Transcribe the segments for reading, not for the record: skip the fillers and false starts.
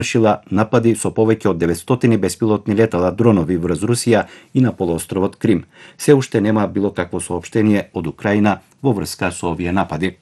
извршила напади со повеќе од 900 беспилотни летала дронови врз Русија и на полуостровот Крим. Се уште нема било какво соопштение од Украина во врска со овие напади.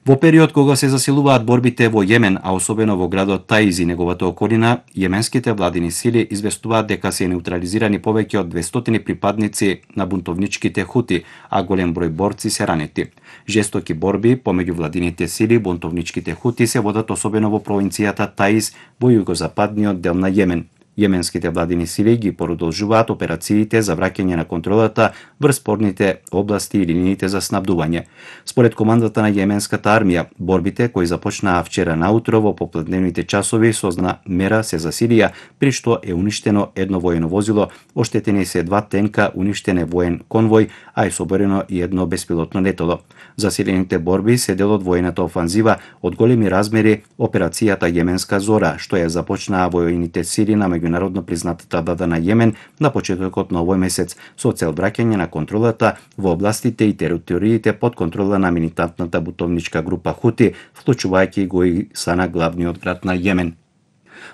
Во период кога се засилуваат борбите во Јемен, а особено во градот Таиз и неговата околина, јеменските владини сили известуваат дека се неутрализирани повеќе од 200 припадници на бунтовничките хути, а голем број борци се ранети. Жестоки борби помеѓу владините сили и бунтовничките хути се водат особено во провинцијата Таиз во југозападниот дел на Јемен. Јеменските владини сили ги продолжуваат операциите за враќање на контролата врз спорните области и линиите за снабдување. Според командата на јеменската армија, борбите кои започнаа вчера наутро во попладневните часови со мера се засилија, при што е уништено едно воено возило, оштетени се 2 тенка, уништен е воен конвој, а е соборено и едно беспилотно летало. Засилените борби се дел од воената офанзива од големи размери операцијата Јеменска зора, што ја започнаа воените сили на меѓународно признатата влада на Јемен на почетокот на овој месец со цел враќање на контролата во областите и териториите под контрола на милитантната бунтовничка група Хути, вклучувајќи го и Сана, главниот град на Јемен.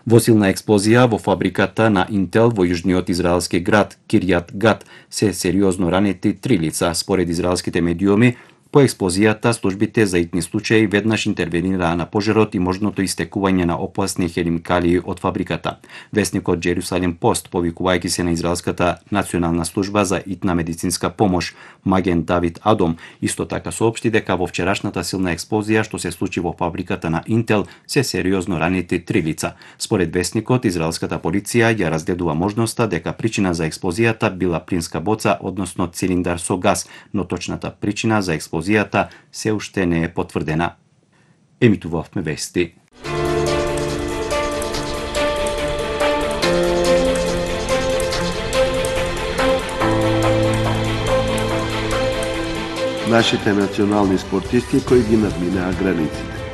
Во силна експлозија во фабриката на Интел во јужниот израелски град Кирјат Гат се сериозно ранети 3 лица, според израелските медиуми. По експлозијата, службите за итни случаи веднаш интервенираа на пожарот и можното истекување на опасни хемикалии од фабриката. Весникот Джерусалем Пост, повикувајќи се на израелската национална служба за итна медицинска помош, Маген Давид Адом, исто така соопшти дека во вчерашната силна експлозија што се случи во фабриката на Интел се сериозно ранети 3 лица. Според весникот, израелската полиција ја разгледува можноста дека причина за експлозијата била плинска боца, односно цилиндар со газ, но точната причина за експлозијата се уште не е потврдена. Емитувавме вести. Нашите национални спортисти кои ги надминаа границите.